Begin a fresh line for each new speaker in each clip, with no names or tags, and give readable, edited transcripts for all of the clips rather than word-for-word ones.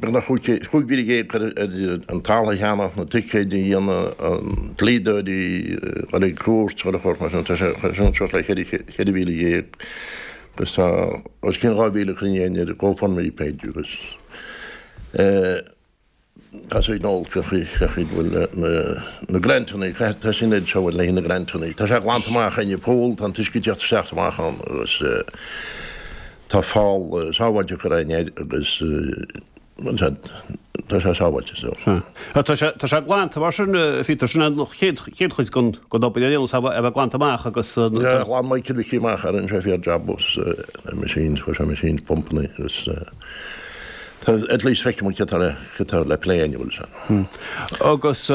Beagnach 15,000 curtha ar an talamh a cheannach, na ticéid a dhéanamh, an dlíodóirí, dul ag cúirt, chuile shórt mar sin. Tá sé suas le 14,000 agus tá os cionn 2,000 cruinnithe ar GoFundMe page agus tá sé ag dul cé chaoi a bhfuil na grantanna, tá sin ag seo le na grantanna. Tá sé glanta amach ag an poll, tá an t-uisce ag teacht isteach amach ann agus Tá fál sábháilte curtha air agus tá sé sábháilte so.
Sea. Tá sé, tá sé glanta mar sin, a Phíotair, sin an chéad, chéad chuid den, den obair a dhéanamh, a bheith glanta amach agus.
Yeah, ghlan Michael Mhicí amach é, rinne sé fíor jab agus na machines, chuir sé machines, pumpanna agus tá, at least feicfidh muid cé tá le, cé tá le plé inniu leis
an. Agus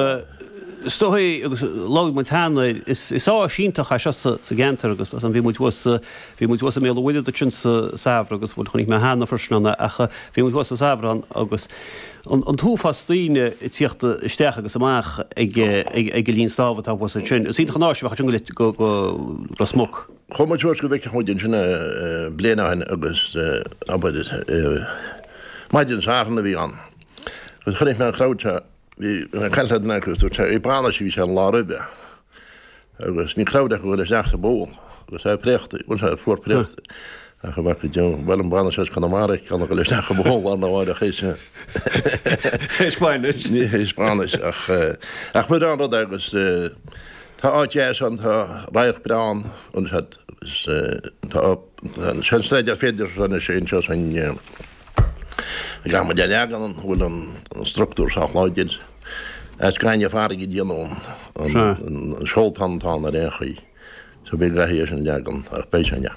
is dóigh, agus labhair muid cheana air, is, is áis iontach é seo sa, sa gceantar agus bhí muid thuas sa, Bhí muid thuas i mBéal an Mhuirthead ansin sa samhradh agus, bhuel, chonaic mé cheana freisin ann é ach bhí muid thuas sa samhradh ann agus an t-uafás daoine ag tíocht isteach agus amach ag ag an linn snámha atá thuas ansin. Is iontach an áis a bheadh ansin go go Ros Muc.
Chuaigh muid suas go bhfeicfeadh muid ansin é bliain ó shin agus abair maidin Sathairn a bhí ann agus chonaic mé an crowd seo, bhí mé ag caint le duine acu agus dúirt sé, ag bainis a bhí sé an lá roimhe. Agus ní crowd acu dhul isteach sa bpoll agus é préachta, bhuel sea, fuar préachta. Ach a bheadh go deo, bhuel an bainis as Conamara ag gan a dhul isteach i bpoll lá arna mháireach théis
Théis bainis.
Ní théis bainis ach ach ba bhreá an rud é agus tá áit dheas ann, tá radharc breá ann, bhuel sea, agus tá an staidéar féideartha anois anseo san Caithfidh muid a leagan an bhfuil an structúr sách láidir. As gaineamh farraige a déanadh an seoltán atá ann ar aon chaoi. So beidh gcaithfidh é sin a leagan ach beidh sé ina.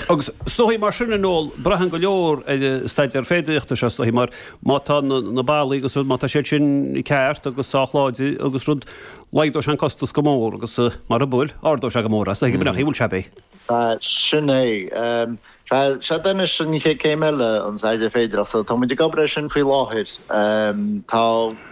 Agus is dóigh mar sin a Noel, braitheann go leor ar an staidéar féidearthachta seo is dóigh mar má tá na ballaí agus rud, má tá siad sin ceart agus sách láidir agus rud, laghdóidh sé an costas go mór agus mara bhfuil, ardóidh sé go mór é. Is dóigh go mbeadh, bhfuil sé, beidh.
Sin é. Sea, sea anois an chéad céim eile, an staidéar féidearthachta. So tá muid ag obair air sin faoi láthair. Tá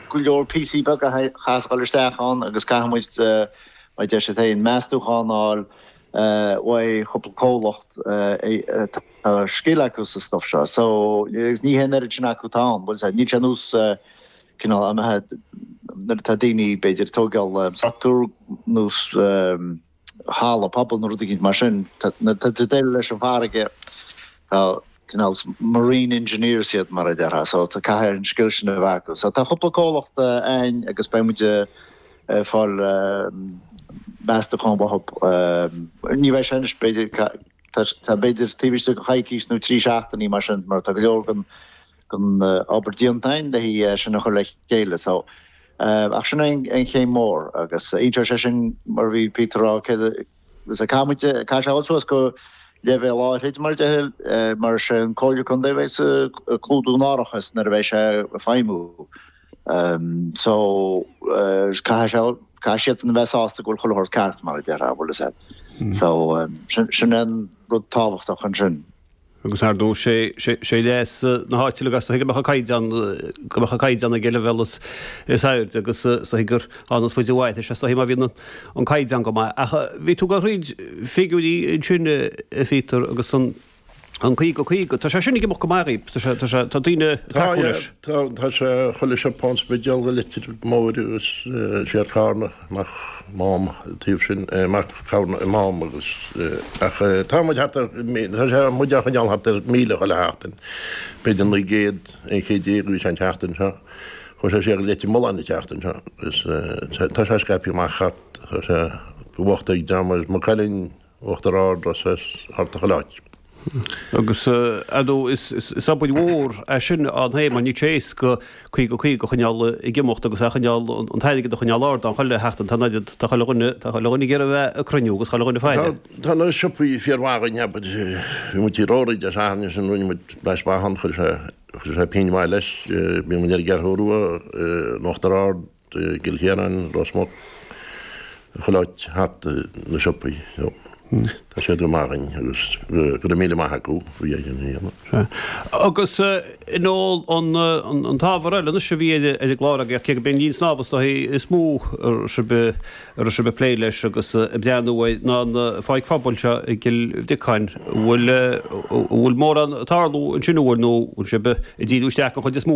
go leor píosaí beaga a chaithfeas a dhul isteach ann agus caithfidh muid, mar a deir siad féin, meastúchán a fháil uaidh chúpla comhlacht atá scil acu sa stuff seo. So, agus ní hé an oiread sin acu atá ann, bhfuil 's a'd, níl sé nós cineál nuair atá daoine b'fhéidir ag tógáil struchtúr nós, halla pobail nó rud éicint mar sin. Nuair atá tú ag déileáil leis an bhfarraige, tá cineál marine engineers iad mar a déarfá, so tá caithfidh an scil sin a bheith acu. So tá cúpla comhlacht a'ainn agus beidh muid ag fáil meastachán uathu. Ní bheidh sé anois, b'fhéidir, tá b'fhéidir taobh istigh de choicís nó 3 seachtainí mar sin, mar tá go leor den den obair déanta a'ainn le é sin a chur le chéile. So, ach sin é an chéim mhór agus inseoidh sé sin mar a bhí Peter a rá céard a caithfidh muid, caithfidh sé a dhul suas go leibhéal áithrid mar a déarfá mar is é an Comhairle Contae a bheidh ag clúdú an árachas nuair a bheidh sé ag feidhmiú. So, caithfidh sé, caithfidh siadsan a bheith sásta go bhfuil chuile shórt ceart mar a déarfá, bhfuil fhios a'd. So, sin é an rud tábhachtach ansin.
Agus ar ndóigh, sé leas na háite uilig is dóigh go mbeadh an caighdeán, go mbeadh an caighdeán ag an leibhéal is airde agus is dóigh gur ann is faide uait é, is dóigh má bhíonn an caighdeán go maith. Ach bhí tú ag roinnt figiúirí ansin, a Phíotair, agus an 50, 50, tá sé sin ag imeacht go maith dhaoib, tá sé, tá sé, tá daoine ag tacú leis.
Tá, tá sé chuile siopa an Spidéal go Leitir Móir agus siar Carna amach Mám taobh sin, amach Carna i Mám agus ach tá muid thart ar, tá sé muid á choinneáil thart ar 1,000 chuile sheachtain, b'fhéidir 900, 11 chéad a bhí sé an tseachtain seo, chuaigh sé siar go Leitir Mealláin an tseachtain seo agus tá sé scaipthe amach thart, tá sé i bhfocht ag dream as Maigh Cuilinn, Uachtar Ard, Ros thart ar chuile áit.
Agus, ar ndóigh, is obair mhór é sin ann féin mar níl sé éasca 50, 50 a choinneáil ag imeacht agus a choinneáil, an t-airgead a choinneáil ard ann chuile sheachtain. Tá an oiread, tá chuile dhuine, tá chuile dhuine ag iarraidh a bheith ag cruinniú agus chuile dhuine ag faire.
Tá na siopaí fíormhaith againn, abair, bhí muid i Rory Dé Sathairn ansin, rinne muid breis maith ann, chuir sé, chuir sé pingin mhaith leis, bhí muid ar an gCeathrú Rua, in Uachtar Ard, i gCill Chiaráin, Ros Muc, chuile áit thart na siopaí. So, tá siad go maith againn agus go raibh míle maith acu faoi é sin a
dhéanamh. Agus a Noel an t-ábhar eile anois a bhí ar an gclár agaibh, cé gurb é an linn snámha is dóichí is mó a raibh sibh a raibh sibh ag plé leis agus ag breathnú air ná an pháirc phobail seo i gCill Bhriocáin. An bhfuil an bhfuil mórán ag tarlú ansin an bhfuil nó bhfuil sibh ag díriú isteach an chuid is mó ar.